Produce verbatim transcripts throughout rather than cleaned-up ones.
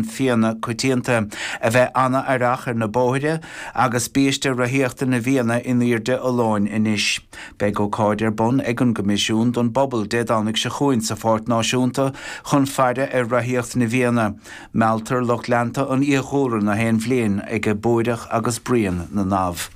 Fianna coitianta, a bheith an-aireach ar na bóithre agus biaiste rothaíochta na bhFianna in airde a lóin anois. Beidh ócáid ar bun ag an gCoimisiún don bpobal Dé Domhnaigh seo chugainn sa Pháirc Náisiúnta chun faire ar rothaíocht na bhFianna. Mealltar lucht leanta an fhiadhúlra na haon bhliain ag búireach agus bruíon na ndamh.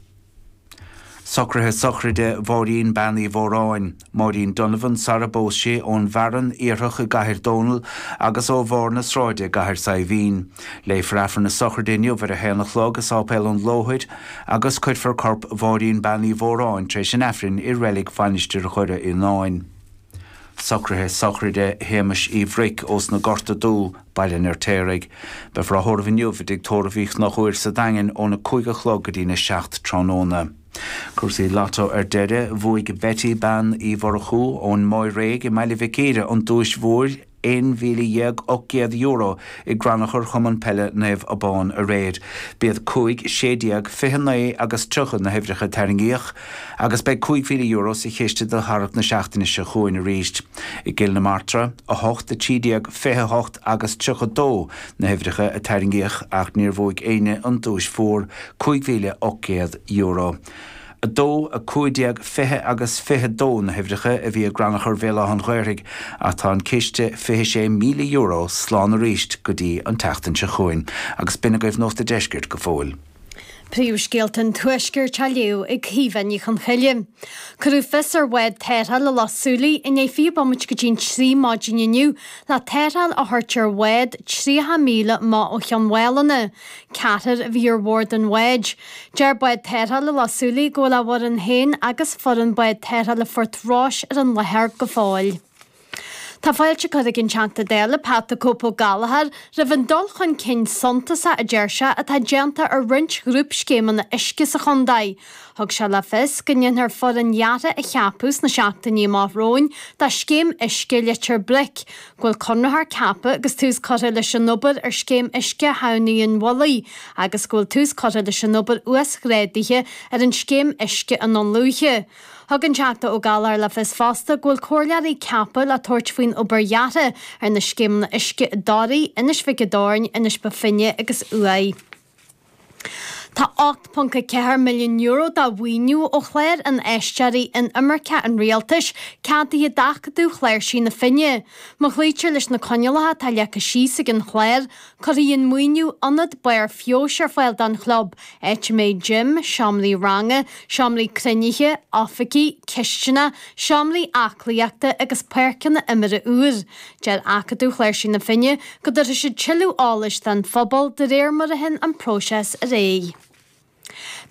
Socruithe sochraide Mháirín Bean Uí Mhóráin, Máirín Donovan sara bpós sí, ón bhFearann Iarthach i gCathair Dónall agus ó bharr na sráide i gCathair Saidhbhín. Léifear Aifreann na sochraide inniu ar a haon a chlog i Sáipéal an Lóthair agus cuirfear corp Mháirín Bean Uí Mhóráin tar éis an Aifrinn i reilig Mhainistir Dhoire Fhíonáin. Socruithe sochraide Shéamais Uí Bhruic ós na Gorta Dubh, Baile an Fheirtéaraigh. Beifear á thórramh inniu i dtigh tórraimh Uí Chonchúir sa Daingean óna cúig a chlog go dtína seacht tráthnóna. Cúrsaí Lotto ar deireadh, bhuaigh Betty Bean Uí Mhurchú ón Maigh Réidh i mBaile Mhic Íre an duais mhór aon mhíle dhéag ocht gcéad euro i gcrannchur Chumann Peile Naomh Abán aréir. B'iad cúig, sé déag, fiche naoi agus tríocha na huimhreacha a tarraingíodh agus beidh cúig mhíle euro sa chiste do tharrac na seachtaine seo chugainn arís. I gCill na Martra, a hocht, a trí déag, fiche a hocht agus tríocha dó na huimhreacha a tarraingíodh ach níor bhuaigh éinne an duais mhór, cúig mhíle ocht gcéad euro. a dó, a cúig déag, fiche agus fiche dó na huimhreacha a bhí i gcrannchur Bhéal Átha an Ghaorthaidh ach tá an ciste fiche sé míle euro slán arís go dtí an tseachtain seo chugainn. Agus b'in agaibh Nuacht an Deiscirt go fóill. Príomhscéalta an Tuaiscirt á léamh ag Caoimhe Ní Chonchoille. Cuireadh fios ar bhád tarrthála Loch Súilí i ndiaidh fiche bomaite go dtí'n trí maidin inniu le tarrtháil a thabhairt ar bhád tríocha míle amach ó Chionn Mhálanna. Ceathrar a bhí ar bhord an bháid. Deir bád tarrthála Loch Súilí go bhfuil a bhfoireann féin agus foireann bád tarrthála Phort Rois ar an láthair go fóill. Tá fáilte curtha ag an Teachta Dála Pat 'The Cope' Ó Gallchóir roimh an dul chun cinn suntasach a deir sé atá déanta ar roinnt ghrúpscéimeanna uisce sa chontae. Thug sé le fios go ndéanfar foireann dheartha a cheapadh sna seachtainí amach romhainn do scéim uisce Leitir Bric, go bhfuil conraitheoir ceaptha agus tús curtha leis an obair ar scéim uisce Thamhnaigh an Mhullaigh agus go bhfuil tús curtha leis an obair uasghrádaithe ar an scéim uisce i nDún Lúiche. Thug an Teachta Ó Gallchóir le fios fosta go bhfuil comhairleoirí ceaptha le tabhairt faoin obair dheartha ar na scéimeanna uisce i dToraigh, Inis Mhic an Doirn, Inis Bó Finne agus Uaigh. Tá ocht ponc a ceathair milliún euro de mhaoiniú ó chlár Infheisteoirí Inimirceacha an Rialtais ceadaithe d'Acadamh Chláirsí na Finne. Má chloítear leis na coinníollacha atá leagtha síos ag an chlár, Cuirfidh an maoiniú ionad barr feabhais ar fáil don chlub, áit a mbeidh gym, seomraí ranga, seomraí cruinnithe, oifigí, cistineach, seomraí aclaíochta agus páirceanna imeartha úr. Deir Acadamh Chláirsí na Finne go dtabharfaidh siad tuilleadh eolais don phobal de réir mar a théann an próiseas ar aghaidh.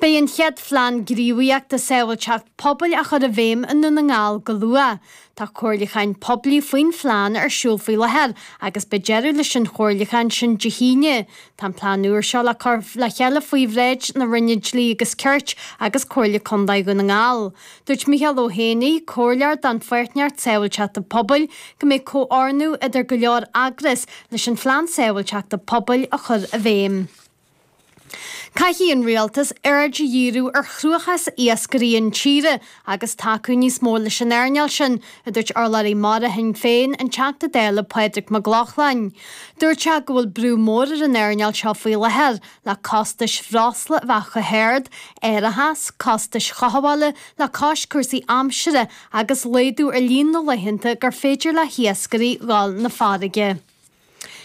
Beidh an chéad phlean gníomhaíochta sábháilteacht pobail á chur i bhfeidhm i nDún na nGall go luath. Tá comhairliúcháin poiblí faoin phlean ar siúl faoi láthair agus beidh deireadh leis an chomhairliúchán sin Dé hAoine. Tá an plean úr seo le cur le chéile faoi bhráid na Roinne Dlí agus Cirt agus Comhairle Contae Dhún na nGall. Dúirt Micheál Ó hÉanaí, Comhairleoir don Pháirtnéireacht Sábháilteachta Pobail, go mbeidh comhordú idir go leor eagras leis an phlean sábháilteachta pobail a chur i bhfeidhm. Caithfidh an Rialtas aird a dhíriú ar chruachás iascairí intíre agus tacú níos mó leis an earnáil sin, a dúirt urlabhraí mara Shinn Féin, an Teachta Dála Pádraig Mac Lochlainn. Dúirt sé go bhfuil brú mór ar an earnáil seo faoi láthair le costais bhreosla a bheith chomh hard, árachas, costais chothabhála le cois cúrsaí aimsire agus laghdú ar líon na laethanta gur féidir le hiascairí dhul 'na farraige.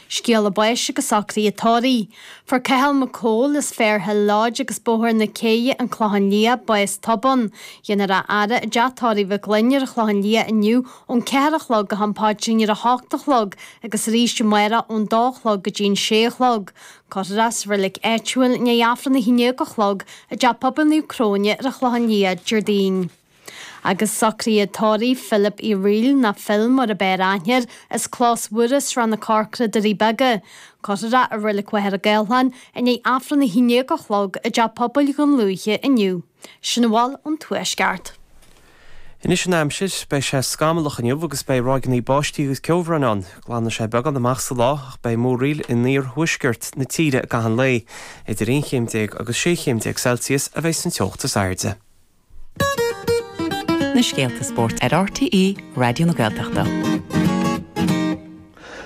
Scéala báis agus socruithe tórraimh. Fuair Cathal Mac Cóil as Fairhill Lodge agus Bóthar na Céidhe, An Clochán Liath, bás tobann. Dhéanfar a fhaire i dteach tórraimh Mhic Fhloinn ar an Chlochán Liath inniu ón ceathair a chlog go ham paidrín ar a hocht a chlog agus arís amárach ón dó a chlog go dtí'n sé a chlog. Cuirfear é sa reilig áitiúil i ndiaidh Aifreann a haon déag a chlog i dTeach Pobail Naomh Cróine ar an Chlochán Liath Déardaoin. Agus socruithe tórraimh Philip Uí Fhrighil, nó Phil mar ab fhearr aithne air, as Clós Mhuire, Srath na Corcra, Doirí Beaga. Cuirfear é i Reilig Mhachaire Gathlán i ndiaidh Aifreann a haon déag a chlog i dTeach Pobail Dhún Lúiche inniu. Sin a bhfuil ón Tuaisceart. Anois an aimsir, beidh sé scamallach inniu agus beidh ráigeanna báistí agus ceobhráin ann. Glanfaidh sé beagán amach sa lá ach beidh múraíl in iarthuaisceart na tíre i gcaitheamh an lae. Idir aon chéim déag agus sé chéim déag Celsius a bheidh san teocht is airde. Na scéalta spóirt ar RTÉ Raidió na Gaeltachta.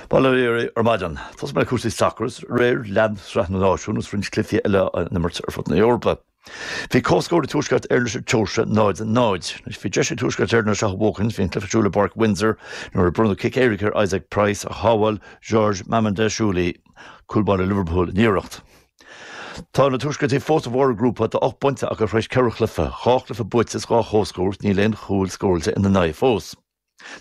Bail ó Dhia oraibh ar maidin. Tosóidh mé le cúrsaí sacair is aréir lean Sraith na Náisiún is roinnt cluichí eile á n-imirt ar fud na hEorpa. Bhí comhscór ag Tuaisceart Éireann leis an tSeoirsia, náid a náid. Anois bhí deis ag Tuaisceart Éireann é seo a bhuachaint, bhí an cluiche ar siúl i bPáirc Windsor nuair a bronnadh cic éirice ar Isaac Price ach shábháil George Mamardashvili, cúlbáire Liverpool, an iarracht. Tá na Tuaisceartaigh fós ar bharr a ngrúpa, tá ocht bpointe acu tar éis ceithre chluiche, dhá chluiche buaite is dhá chomhscór, níl aon chúl scóráilte ina n-aghaidh fós.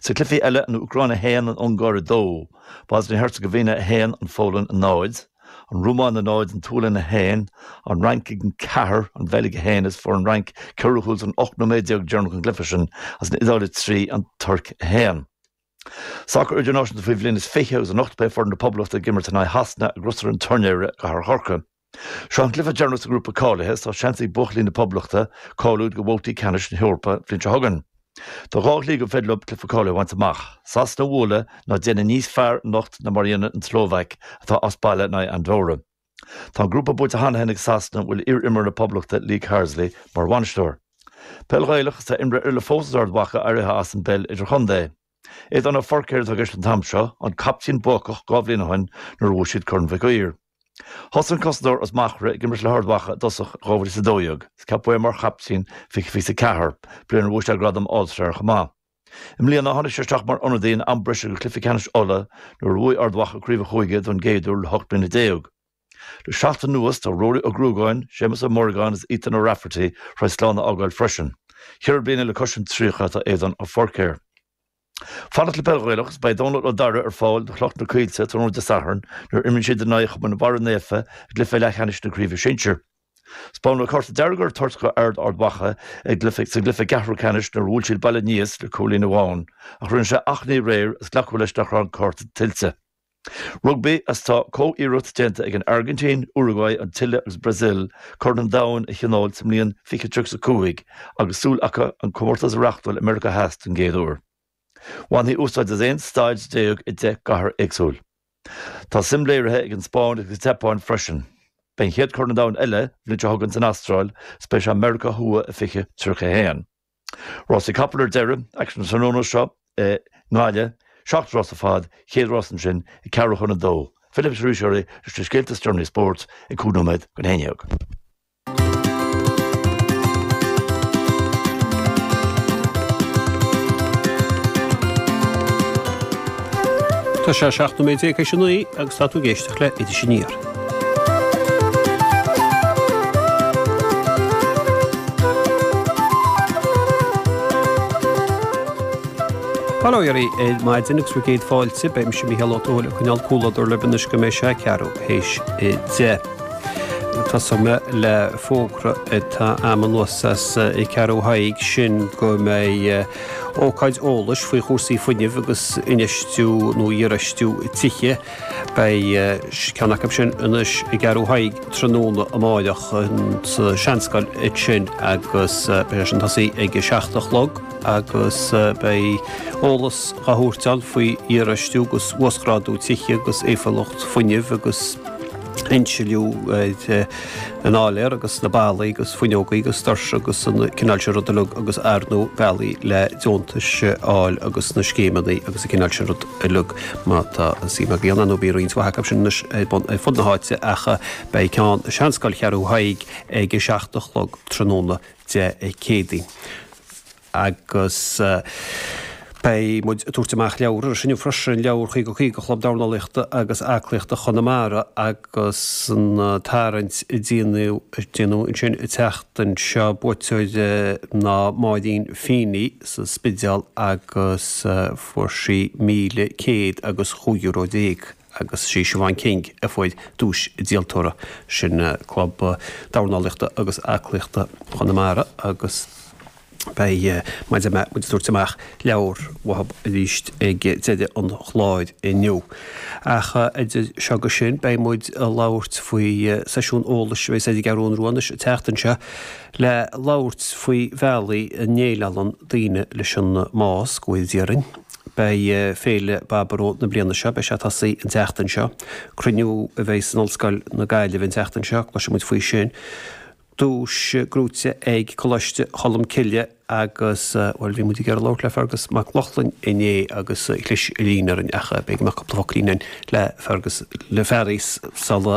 Sa cluichí eile, an Úcráin a haon, an Ungáir a dó, Boisnia-Herzegovina a haon, an Pholainn a náid, an Rómáin a náid, an tSualainn a haon, an Fhrainc a ceathair, an Bheilg a haon, is fuair an Fhrainc ceithre chúl san ocht nóiméad déag deireanach den gcluiche sin, agus an Iodáil a trí, an Tuirc a haon. Sacar idirnáisiúnta faoi bhliain is fiche agus anocht beidh foireann na Poblachta ag imirt in aghaidh Shasana i gCrosaire an Tuairneora i gCathair Chorcaí. Seo an cluiche deireanach sa ngrúpa cáilithe is tá seans ag buachaillí na Poblachta cáiliú do bhabhtaí ceannais na hEorpa an bhliain seo chugainn. Tá dhá shlí gur féidir leo cluiche cáilithe a bhaint amach, Sasana a bhualadh nó déanamh níos fearr anocht ná mar a dhéanann an tSlóvaic atá as baile in aghaidh Andorra. Tá an grúpa buaite cheana féin ag Sasana a bhfuil iar-imreoir na Poblachta Lee Carsley mar bhainisteoir. Peil Ghaelach is tá imreoir eile fós as Ard Mhacha éirithe as an bpeil idirchontae. Aodán Ó Feircéir atá i gceist an t-am seo, an captaen buacach dhá bhliain ó shin nuair a bhuaigh siad Corn Mhic Uidhir. Thosaigh an cosantóir as Machaire ag imirt le hArd Mhacha i dtosach in dhá mhíle is a dó dhéag is ceapadh é mar chaptaen fiche fiche a ceathair, bliain ar bhuaigh sé gradam All-Star chomh maith. I mbliana, tháinig sé isteach mar ionadaí in am breise do chluiche ceannais Uladh nuair a bhuaigh Ard Mhacha craobh an chúige don gcéad uair le hocht mbliana déag. Le seachtain anuas, tá Rory Ó Gruagáin, Séamus Ó Muireagáin agus Ethan O'Rafferty tar éis slán a fhágáil freisin. Ceithre bliana le cois an tríocha atá Aodán Ó Feircéir. Fanacht le peil Ghaelach is beidh Dónal Ó Dara ar fáil do Chloich na Coillte tráthnóna Dé Sathairn nuair a imríonn siad in aghaidh Chumann Bharra Naofa i gcluiche leathcheannais na Craoibhe Sinsir. 'Spáineadh cárta dearg ar toirt do fhear Ard Mhacha i gcluiche sa gcluiche ceathrú ceannais nuair a bhuail siad Baile Aníos le cúilín amháin ach rinne sé achainí aréir is glacadh leis nach raibh an cárta tuillte. Rugbaí Is tá comh-iarracht déanta ag an Airgintín, Uruguay, an tSile agus Brasil Corn an Domhain a thionól sa mbliain fiche tríocha a cúig agus súil acu an comórtas a reáchtáil i Meiriceá Theas don gcéad uair. Bhainfí úsáid as aon staid déag i deich gcathair éagsúil. Tá suim léirithe ag an Spáinn agus an tSeapáin freisin. Beidh an chéad Chorn an Domhain eile an bhliain seo chugainn san Astráil is beidh sé i Meiriceá Thuaidh i fiche tríocha a haon. Rásaí capall ar deireadh, aicsean an tráthnóna seo i nGaillimh, seacht rás ar fad, chéad rás ansin ag ceathrú chun a dó. Fillfidh mise arís oraibh leis na scéalta is deireanaí spóirt ag cúig nóiméad chun a haon dhéag. Tá sé seacht nóiméad déag théis a naoi agus tá tú ag éisteacht le Iris Aniar. Bail ó Dhia oraibh ar maidin agus bhur gcéad fáilte. Beidh mise Mícheál Ó Tuathail ag coinneáil comhluadar libh anois go mbeidh sé ceathrú théis a deich. Tosóidh mé le fógra atá a'm anuas as Ceathrú Thaidhg, sin go mbeidh ócáid eolais faoi chúrsaí fuinnimh agus infheistiú nó iarfheistiú tithe. Beidh ceann acu sin anois i gCeathrú Thaidhg tráthnóna amáireach sa Seanscoil ansin agus beidh sé sin tosaí ag a seacht a chlog agus beidh eolas á thabhairt ann faoi iarfheistiú agus uasghrádú tithe agus éifeachtúlacht fuinnimh agus insliú ar an áiléar agus na ballaí agus fuinneogaí agus doirse agus an cineál sin rud uilig agus ar ndóigh bealaí le deontais a fháil agus na scéimeanna agus an cineál sin rud uilig má tá suim agaibh ann. Nó bíonn roinnt mhaith acu sin anois ar bun ar fud na háite ach beidh ceann i Seanscoil Cheathrú Thaidhg ag a seacht a chlog tráthnóna Dé Céadaoin. Agus beidh muid ag tabhairt amach leabhar ar inniu freisin, leabhar caoga caoga Chlub Dornálaíochta agus Aclaíochta Chonamara agus an tarraingt a déanadh ansin an tseachtain seo, buaiteoir ná Máirín Feeney sa Spidéal agus fuair sí míle céad agus chúig euro déag agus sí Siobhán King a fuair duais díoltóra, sin Club Dornálaíochta agus Aclaíochta Chonamara agus. Beidh muid ag tabhairt amach leabhar uathu arís ag deireadh an chláir inniu. Ach idir seo agus sin, beidh muid ag labhairt faoi seisiún eolais a bheas ar an gCeathrú Rua anois an tseachtain seo le labhairt faoi bhealaí a ndéileálann daoine leis an mbás, go bhfóire Dia orainn. Beidh Féile Baboró na bliana seo, beidh sé ag tosaí an tseachtain seo. Cruinniú a bheidh in Ollscoil na Gaillimhe an tseachtain seo, cloisfidh muid faoi sin. Duais gnóite ag Coláiste Cholmcille agus, bhuel, bhí muid ag iarraidh labhairt le Fergus Mac Lochlainn inné agus chlis an líne orainn ach beidh mé cúpla focailín le Fergus, le Fearghas sula